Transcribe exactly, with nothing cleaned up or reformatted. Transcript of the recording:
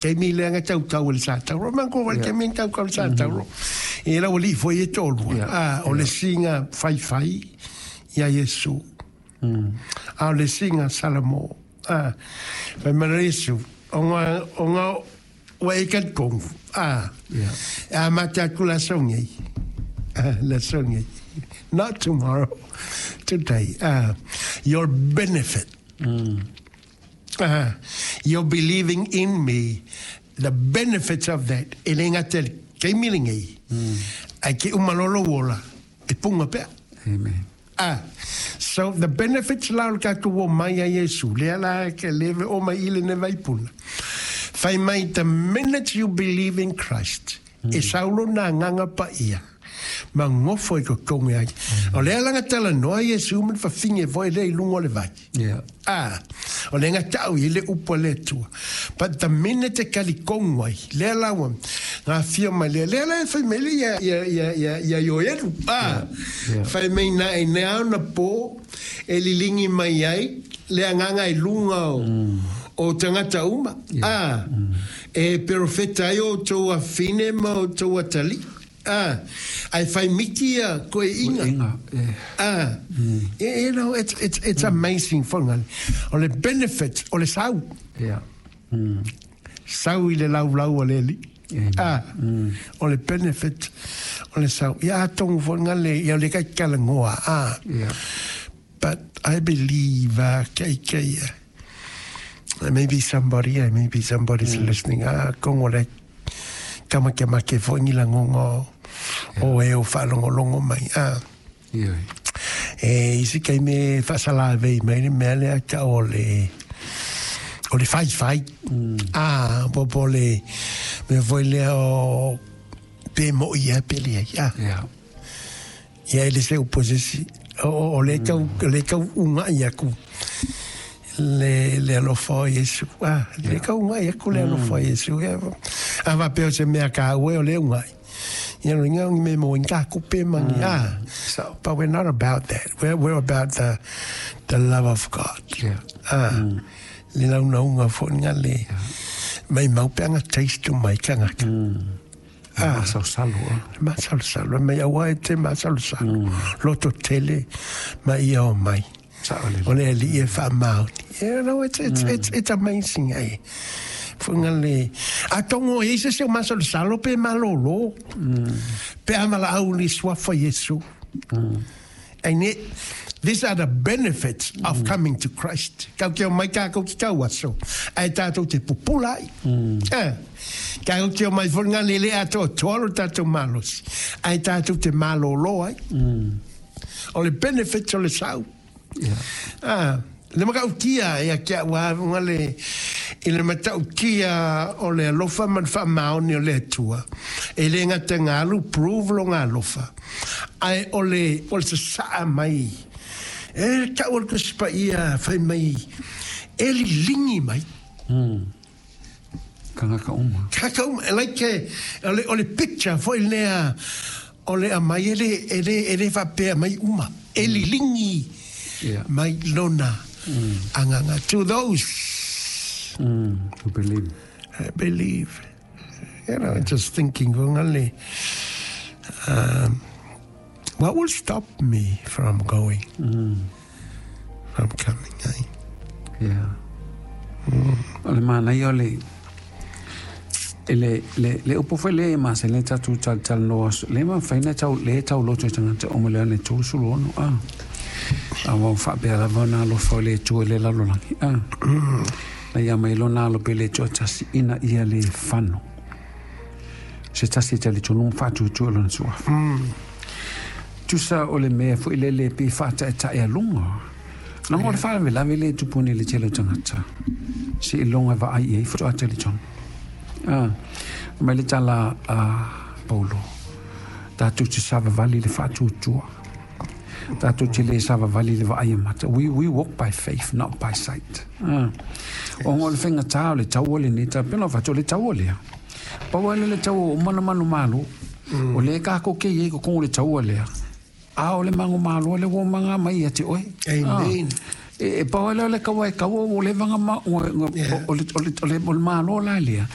Taimi lea ga tautau e le sa tauro ma ko wale taimi tautau le sa tauro. E la wali fo ye tolu. Ah, o le singa fai fai ia Yesu. A o le singa Salamo. Ah, fai mai Yesu. Onga onga wa e kat kongu. Ah. A mata ku la songi. Ah, la songi. Not tomorrow, today. Ah, your benefit. Uh, you're believing in me, the benefits of that, e le ngata ke milingi. Ai ke umalolo wola, e punga pea. Amen. Ah, so the benefits la o le tatou o mai a Iesu, lea la ke leve o mai ile ne vaipuna. Fai mai, the minute you believe in Christ, e saulo na nganga pa ia. Ma ngofo i kokonge ai. O lea langa tala noa Iesu ma whawhinge voi le i lungo le vai. Yeah. Ah, o le nga tau i le upo le tua. But the minute e kali kongwai, lea lawa, ngā fia mai lea, lea lea whai mai le ia, ia, ia, ia, ia ioeru. Ah, Yeah. whai mai na e nea na po, e lilingi mai ai, lea nganga i lunga o, o tangata uma. Ah, e perofeta ai o tō afine ma o tō atali. Ah, ai whai miti ia koe inga. Inga. Eh. Ah, you know, it's, it's, it's amazing whangale. O le benefit, o le sau. Yeah. Sau i le lau lau o le li. Amen. Ah, o le benefit, o le sau. Ia tongu whangale, ia le kai kalangoa. Ah, Yeah. but I believe, uh, kei kei, uh, maybe somebody, uh, maybe somebody's listening. Ah, kongo le kama ke make whangi la ngongo o e o whalongolongo mai. Ah, Yeah. E isi kai me whasala vei mai le mea lea ka o le o le fai fai. Ah, po po le me voi lea o pe mo ia pe le ai. Ah, Yeah. ia e le se uposesi o o o le kau le kau unga ia ku le le alofa o Iesu. Ah, le kau unga ia ku le alofa o Iesu. Ia, a va pe o se mea ka ue o le unga. Ia no inga me mo inga ku pe mangi. Ah, So. but we're not about that. We're, we're about the, the love of God. Yeah. Ah, le launa unga fo nga le. Mai mau pe anga taste tu mai ka ngaka. Ah. Masalosalo. ah. Masalosalo, mai aua e te masalosalo. Loto tele, mai ia o mai. Sao le. O le ali e wha maoni. You know, it's, it's, it's, it's amazing, eh. Funga le... A tongo e se se o masalosalo pe malolo. Pe amala au li swafa Yesu. And it, these are the benefits of coming to Christ. Kau kia mai kā kau ki kau aso. Ai tātou te pupula ai. Eh. Kau kia mai whanga lele ato toalo tātou malos. Ai tātou te malolo ai. O le benefits o le sau. Yeah. Ah, le makautia ia kia wa nga le i le matautia o le alofa ma le faamaoni o le Atua. E le gata galu prove loga alofa. Ae o le o le sasaa mai. E tau o le Tusi Paia fai mai e liligi mai. Kangaka uma. Kaka uma, like o le o le picture foi lea o le amai e le e le e le faapea mai uma. E liligi Yeah. mai lona agaga to those Mm. Who believe. I believe. You know, just thinking, ngale, um, what will stop me from going, from coming? Eh? Yeah. O le mana ia o le e le le le upo foi le ma se le tatu tal tal no le ma faina tau le tau loto i tangata o mo le ane tolu sulu ono a a wau whaapea lava na alofa o le Atua i le lalolagi a na ia mai lona alo pe le Atua tasi ina ia le fano se tasi e tali tonu whaatuatua lona suafa tusa o le mea foi le le pe whaataetae a lunga na ngo le whaalavelave le tupuni le tele o tangata se i longa vaai i ai whatoa tali tonu Ah, mai le tala a Paulo. Tātou te savavali le whaatuatua. Tātou te le savavali le vaai mata. We, we walk by faith, not by sight. Ah. O ngō le whenga tā o le tau o le ne, tā pena whatu o le tau o lea. Pau le le tau o mana manu malo. O le kako ke ye ko kongo le tau o lea. A o le mango malo le wo manga mai ia te oe. Amen. Ah. E, e pau le le kawa e kawa o le vanga ma o o le o le o le o le malo la lea.